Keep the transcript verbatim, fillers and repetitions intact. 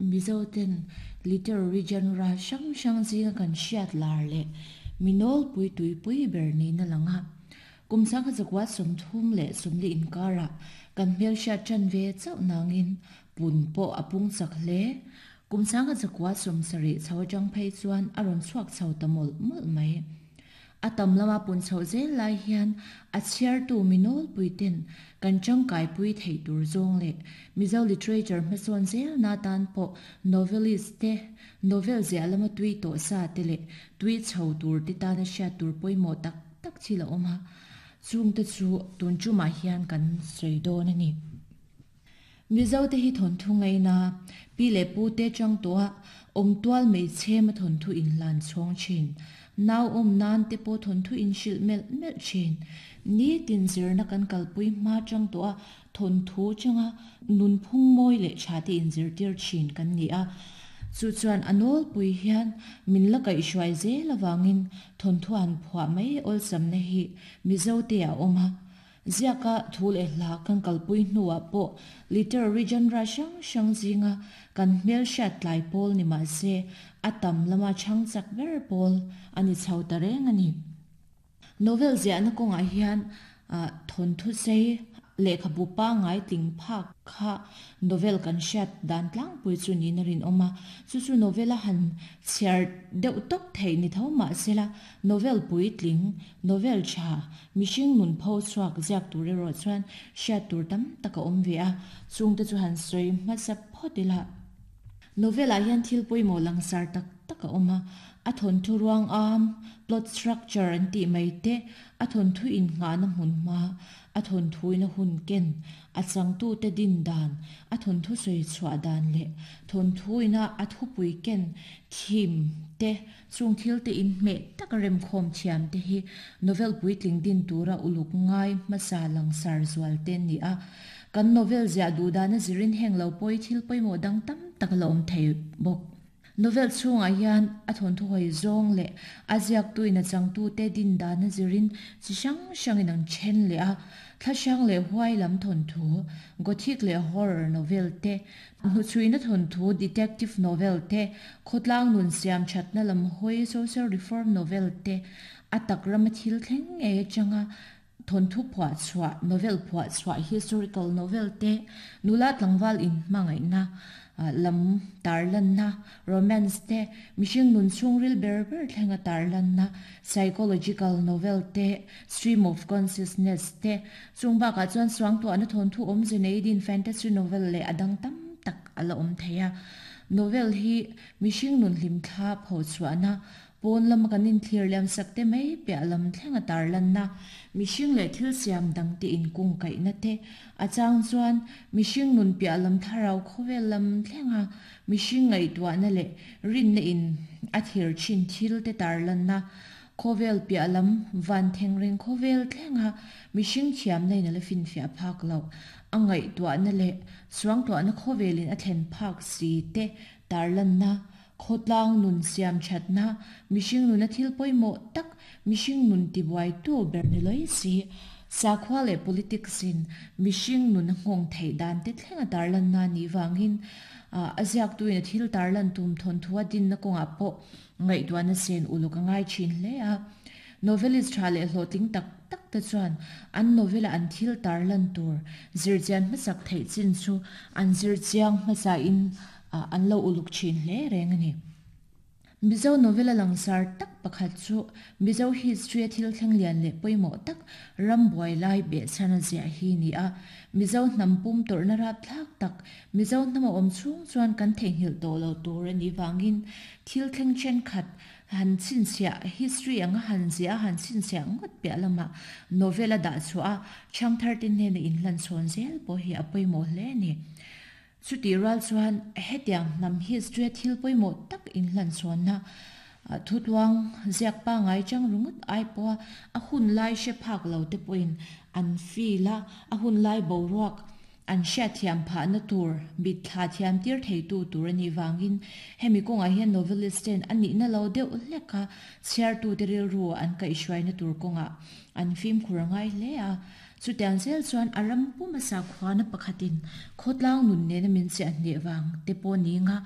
Mizo ten literary genre hrang hrang zinga kan hriat lar leh mi nawlpui tuipui ber niin a lang a. Kum sangkhat zakua sawmthum leh sawmli inkarah kan hmelhriat tan ve chauh nangin pun pawh a pung chak hle. Kum sangkhat zakua sawmsarih chho atang phei chuan a rawn chhuak chho ta mawlh mawlh mai. A tam lama pun chhoh zel lai hian a chhiartu mi nawlpui ten kan tangkaipui theih tur zawng leh Mizo literature hmasawn zel na tan pawh novelist te, novel ziah lama tui tawh sa te leh tui chho tur te tana hriat tur pawimawh tak tak thil a awm a. Chungte chu tun tumah hian kan sawi dawn a ni. Mizo te hi thawnthu ngaina pi leh pu te chang tawha awm tual hmeichhe ma thawnthu inhlan chhawng thin. Nau awm nan te pawh thawnthu inhrilh melh melh thin. Ni tin zirna kan kalpui hma chang tawha thawnthu changa nunphung mawi leh tha te inzirtir thin kan ni a. Chu chuan a nawlpui hian min la kaihhruai zel awangin thawnthu an phuah mai awlsamna hi Mizo te a awm a. Ziaka thu leh hla kan kalpui hnuah pawh literary genre hrang hrang zinga kan hmelhriat tlai pawl ni mahse a tam lama chhang chak ber pawl a ni chho ta reng a ni. Novel ziahna kawngah hian thawnthu sei lehkhabu pangngai tling phak kha novel kan hriat dan tlangpui chu niin a rinawm a. Chu chu novel a han chhiar deuh tawp theih ni tho mahsela novel puitling, novel tha, mihring nun pho chhuak ziak tur erawh chuan hriat tur tam tak a awm ve a. Chungte chu han sawi hmasa phawt ila. Novel ah hian thil pawimawh langsar tak tak a awm a. A thawnthu ruang am, plot structure an tih mai te, a thawnthu innghahna hmun hma, a thawnthuina hun ken, a changtu te din dan, a thawnthu sawi chhuah dan leh thawnthuina a thupui ken theme te chung thil te inhmeh tak remkhawm thiam te hi novel puitling din tura uluk ngai hmasa langsar zual te an ni a. Kan novel ziah duh dana zirin heng lo pawi thil pawimawh dang tam tak la awm thei bawk. Novel chhungah hian a thawnthu hawi zawng leh a ziaktuin a changtute din dana zirin chi hrang hrangin an then leh a. Thla hrang leh huai lam thawnthu, gothic leh horror novel te, hnuchhuina thawnthu, detective novel te, khawtlang nun siam thatna lam hawi social reform novel te, a tak rama thil thleng ngei atanga thawnthu phuah chhuah, novel phuah chhuah, historical novel te, nula tlangval inhmangaihna lam tarlanna, romance te, mihring nun chhungril ber ber thlenga tarlanna, psychological novel te, stream of consciousness te, chung bakah chuan suangtuahna thawnthu awmze nei din fantasy novel leh a dang tam tak a la awm thei a. Novel hi mihring nun hlim thla pho chhuahna, pawn lama kan inthlir liam sak te mai piah lam thlenga tarlanna, mihring leh thil siam dang te inkung kaihna te, a chang chuan mihring nun piah lam thlarau khawvel lam thlenga mihring ngaihtuahna leh rinna in a thir thin thil te tarlanna, khawvel piah lam van thengreng khawvel thlenga mihring thiamna in a la finfiah phak loh, a ngaihtuahna leh suangtuahna khawvelin a thlen phak si te tarlanna, khawtlang nun siam thatna, mihring nuna thil pawimawh tak, mihring nun tibuaitu ber ni lawi si, sakhua leh politics in mihring nun a nghawng theih dan te thlenga tarlanna ni wangin a ziaktuin a thil tarlan tum thawnthu a dinna kawngah pawh ngaihtuahna sen uluk a ngai thin hle a. Novelist tha leh hlawhtling tak tak te chuan an novel a an thil tarlan tur zirchian hmasak theih chin chu an zirchiang hmasa in an lo uluk thin hle reng a ni. Mizo novel a langsar tak pakhat chu Mizo history a thil thleng lian leh pawimawh tak ram buai lai behchhan a ziah hi ni a. Mizo hnam pum tawrhna rap thlak tak Mizo hnam a awm chhung chuan kan theihnghilh tawh lo tur a nih vangin thil thleng thenkhat han chhinchhiah history anga han ziah a han chhinchhiah ngawt piah lama novel a dah chhuah a chhangthar te hnena inhlan chhawn zel pawh hi a pawimawh hle a ni. Chutih rual chuan hetiang hnam history a thil pawimawh tak inhlan chhawnna thutluang ziak pangngai chang ringawt ai pawha a hun lai hre phak lo te pawhin an feel a, a hun lai boruak an hriat thiam phahna tur mit thla thiam tir theitu tur a nih vangin hemi kawngah hian novelist ten a nihna lo deuh hlek a chhiartu te rilru an kaihhruaina tur kawngah an fimkhur a ngai hle a. Chutiang zel chuan a ram pum a sakhuana pakhatin khawtlang nun nena min chiah hneh wang te pawh ni nga.